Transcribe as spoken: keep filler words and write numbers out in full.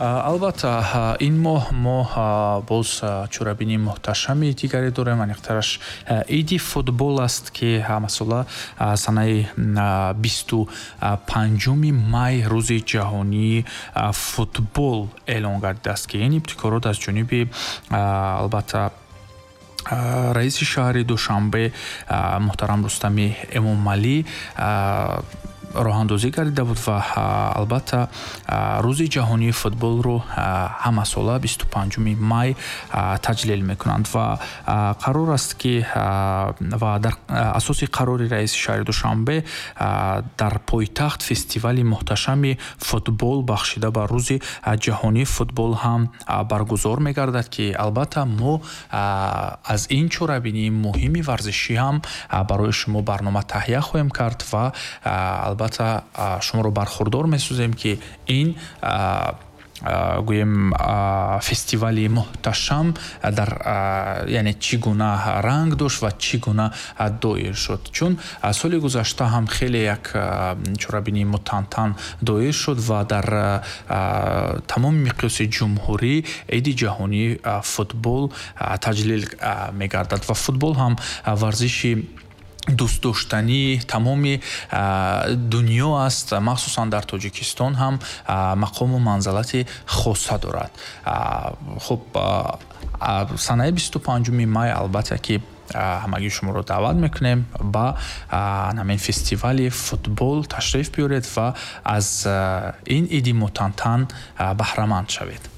Албатта, ин моҳ мо боз чорабинии муҳташами дигаре дорем, аниқтараш иди футбол аст, ки ҳамасола санаи бисту панҷуми май рӯзи ҷаҳонии футбол эълон гардидааст, ки ин ибтикорот аз ҷониби, албатта, раиси шаҳри Душанбе муҳтарам Рустами Эмомалӣ роҳандозӣ гардида буд ва, албатта, рӯзи ҷаҳонии футболро ҳамасола бисту панҷуми май таҷлил мекунанд ва қарор аст, ки ва дар асоси қарори раиси шаҳри Душанбе дар пойтахт фестивали муҳташами футбол, бахшида ба рӯзи ҷаҳонии футбол, ҳам баргузор мегардад, ки, албатта, мо аз ин чорабинии муҳими варзишӣ ҳам барои шумо барнома таҳия хоҳем кард ва, албатта, шуморо бархурдор месозем, ки ин, гӯем, фестивали муҳташам дар, яъне, чӣ гуна ранг дошт ва чӣ гуна доир шуд, чун соли гузашта ҳам хеле як чорабинии мутантан доир шуд ва дар тамоми миқёси ҷумҳурӣ иди ҷаҳонии футбол таҷлил мегардад. Ва футбол ҳам варзиши дӯстдоштании тамоми дунё аст, махсусан дар Тоҷикистон ҳам мақому манзалати хоса дорад. Хуб, санаи бисту панҷуми май, албатта, ки ҳамагӣ шуморо даъват мекунем, ба ҳамин фестивали футбол ташриф биёред ва аз ин иди мутантан баҳраманд шавед.